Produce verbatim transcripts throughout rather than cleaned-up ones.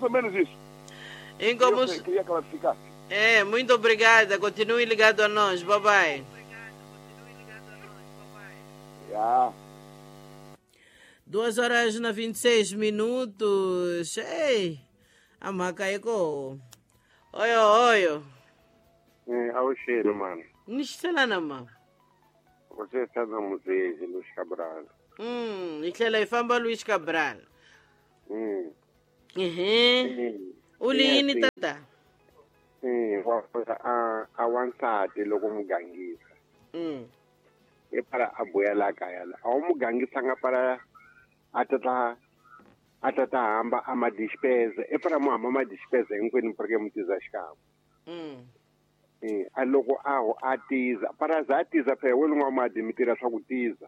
ou menos isso. Em como... Eu queria clarificar. É, muito obrigada. Continue ligado a nós. Bye bye. Yeah. Duas horas na vinte e seis minutos. Ei, a maca eko. Oyo, oyo. É, ao cheiro, mano. Nistelana, mano. Você está na museu, Luiz Cabral. Hum, e que famba Luiz Cabral. Hum. Uhum. Ulini tata. Sim, a a wansati loko mugangisa. Hum. E para a boela kaya. A mugangisa nga para atata atata hamba ama despesa. E para mo ama despesa hinkwenu porque mutiza xikamo. Hum. Eh, a loko a ho a tiza para za tiza phela we lunga madi mitira swa ku tiza.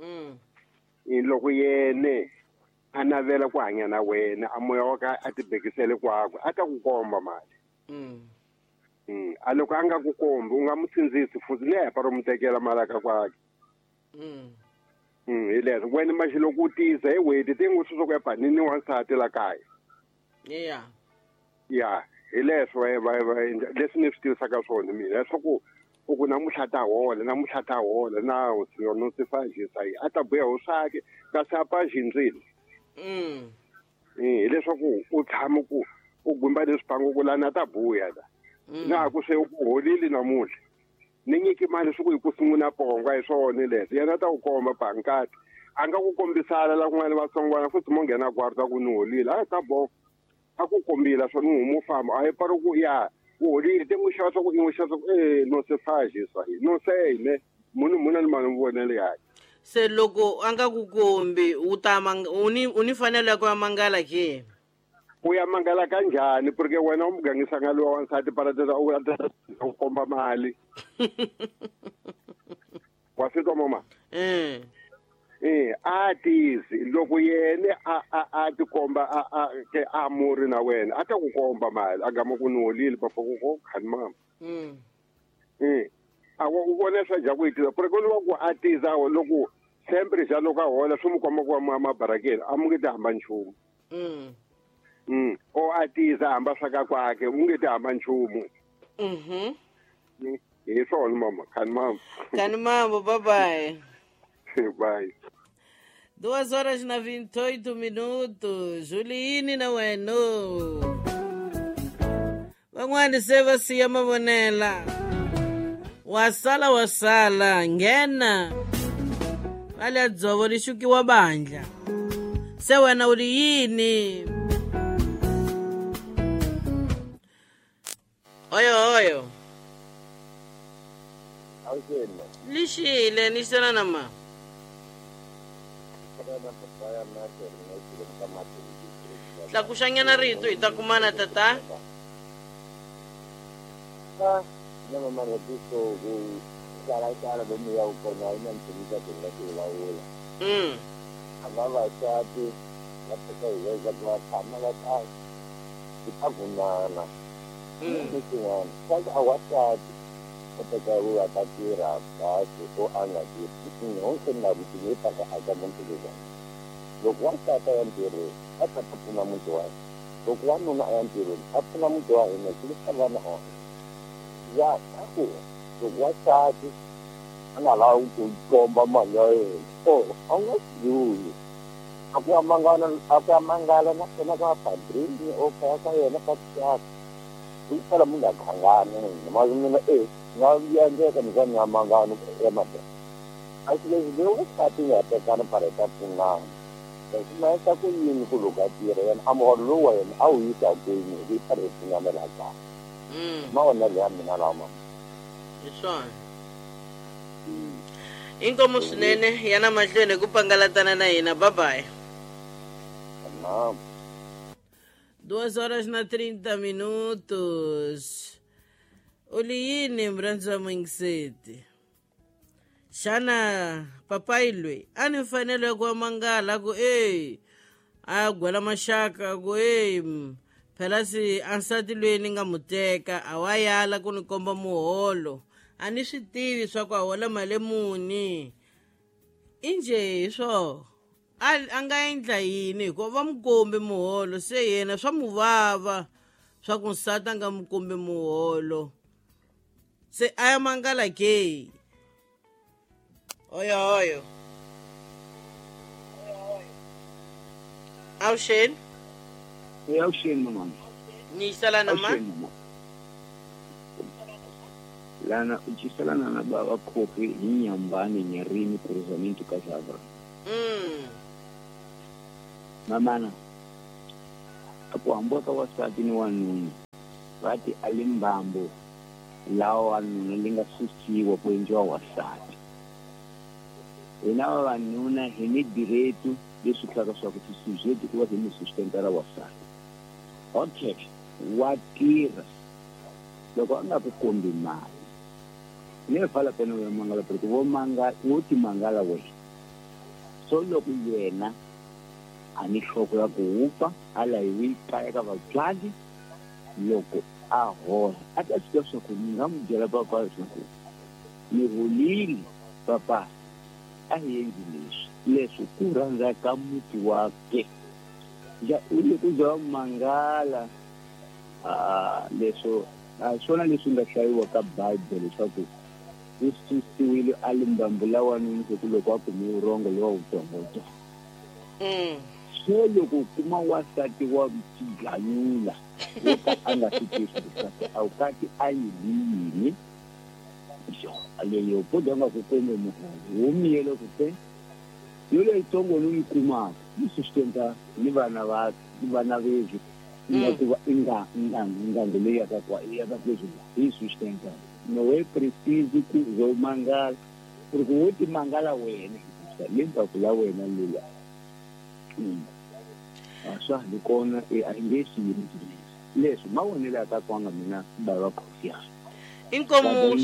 Mm. E loko yene a navela ku hanya na wena a moya wa ka a tibekisele kwakwe a ta ku komba mali. Mm. Mm. A loko a nga ku kombi u nga mu sindzisi futhi ne para mu tekela mali ka kwakhe. Mm. Mm, hi leswo wena maxi loko u tiza hi weti ti ngo swi ku ya panini wansati la kaya. Yeah. Yeah. Hi leswo va va leswi ni swi tivisaka swona mina leswaku u ku namuntlha ta hola namuntlha ta hola na no se fajisa a ta buya ho swake kasi a pa xindzile. Mm. Eh, hileswaku u tshama ku u gumba leswi pango ku lana ta buya la. Na ku se u holile namuntlha. Ni nyiki mali swi ku hi ku sungula pongo hi swona leswi yena ta ku komba bankati a nga ku kombisana la kun'wana vatsongwana futhi mo nghena kwarta ku ni holile a ta bo a ku kombila swona u huma u famba a hi pari ku ya u holile te n'wi xava swa ku i n'wi xava swa ku e no se fajisa no se ne munhu munhu ni mali vonele yakhe. Se loko a nga ku kombi u ta u ni u ni fanele ya ku ya mangala ke? U ya mangala kanjhani porque wena u mugangisa nga luwa wansati para tata u u komba mali. Wa swi twa mama? Eh. Eh, a tizi loko yene a a a tikomba a a ke a muri na wena a ta ku komba mali a gama ku ni holile papa ku ko khani mama. Mm. Eh. A u vona swa ja ku itiza porque loko ku a tiza loko sempre ja loko a hola swi mu komba ku wa mabarakeni a mu nge ti hamba nchumu. Mm. Mm. O a tiza hamba swa ka kwakhe u nge ti hamba nchumu. Mhm. Hi swona mama, khani mama. Khani mama, bye bye. Bye. Duas horas na vinte e oito minutos. Juliine na weno. Van'wana se va siya mavonela. Wasala wasala nghena. Vale dzovo ri xukiwa bandla. Se wena u ri yini? Oyo oyo. Lixile ni xana na ma. Tlakuxanyana rito hi ta kumana tata. Ah, no mama repito ku tsala tsala lomu ya kona ina mtumika tinga tilawula. Mm. Abavasati va teka hi veza ku va tshama va ta ti vunana. Mm. Swin'wana swa ku a wasati u teka u va ta tirha kahle o a nga tirhi honke na vutivi ta ka aka muti lowuwani. Loko wansati a ya ntirhweni a ta ta pfuna muti wa yena. Loko wanuna a ya ntirhweni a pfuna muti wa hina ku yisa vana on. Ya ku loko wansati a nga lavi ku komba mali ya yena o a nga swi a ku ya mangala a ku ya mangala na kona ka padrini o kaya ka yena ka xaka ku sala munhu a khangana ma mina e nga endleka ni ka ni ya mangana ya mabya a swi leswi leyi wansati nga tekana para ta pfunana leswi ma endla ku yini ku loko a tirha yena a muholo lowu wa yena a wu yisa kwini hi para hi pfunana laha kaya. Mm. Mavonelo ya mina lawa mama. Hi swona. Inkomu swinene yana mahlweni ku pangalatana na hina. Bye bye. Naam. Duas horas na trinta minutos. U li yini murhandzi wa muyingiseti? Xana papayi loyi a ni mfanelo ya ku wa mangala ku e a gwela maxaka ku e phela si a nsati loyi ni nga mu teka a wa yala ku ni komba muholo a ni swi tivi swa ku a hola mali muni i njhe hi swo A nga endla yini hikuva va n'wi kombi muholo, se yena swa mu vava swa ku nsati a nga n'wi kombi muholo, se a ya mangala ke. Oyo oyo. Avuxeni. E avuxeni mama. Ni yiselana ma? Lana u ciselana na baba Khofi hi Nyambani Nyarini Cruzamento Casabra. Mm. Mamana a ku hambiwa ka wansati ni wanuna va ti a limbambo lawa wanuna li nga susiwa ku endliwa wansati. Hina vavanuna hi ni direto leswi tlaka swa ku ti ku va hi ni sustentara wansati. Okay, wa tirha loko a nga ku kombi mali ni fala pena ya mangala porque vo manga wo ti mangala wena. So loko yena a ni hloko ya ku wupa a layiwi kaya ka vatswari loko a hola a ta swi tiva swa ku ni nga n'wi byela papa leswaku ni holile papa a hi endli leswi leswi ku rhandza ka muti wake ja u le ku za mangala a leswo a swona leswi nga hlayiwa ka Bible leswaku u susiwile a limbambu la wanuna ku loko a kume vurhongo lowa wutsongotsongo. So loko u kuma wansati wa tiganyula wo ka a nga swi tivi leswaku a wu kati a yini yini yo leyo po nga ku kombe muholo wo miyele ku te yo leyitsongo ni yi kumaka yi sustenta ni vana va ni vana vezwi nga ku va nga nga nga leyi ya ka kwa ya ka kwezwi yi sustenta no we preciso ku zo mangala porque wo ti mangala wena lemba ku la wena lula a swa hi kona e a nge swi yini leswi mavonelo ya ka kwanga mina bava Khofi ya inkomo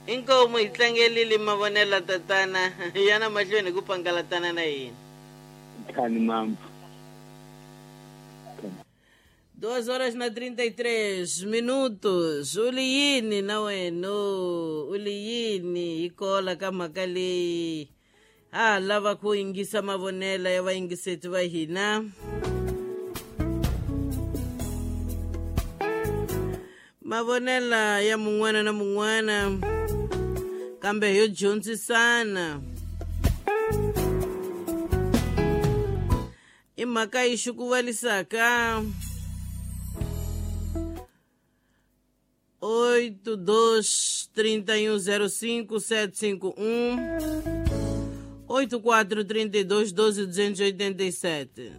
inkomo hi tlangelile mavonelo tatana yana mahlweni ku pangalatana na yini khani mampu. Duas horas na trinta e três minutos. U li yini na wena? U li yini hi kola ka mhaka leyi? Ha lava ku yingisa mavonelo ya vayingiseti va hina. Mavonela ya mun'wana na mun'wana kambe yo dyondzisana. I mhaka yi xukuvalisaka. Oito dois trinta e um zero cinco sete cinco um oito quatro trinta e dois doze duzentos e oitenta e sete.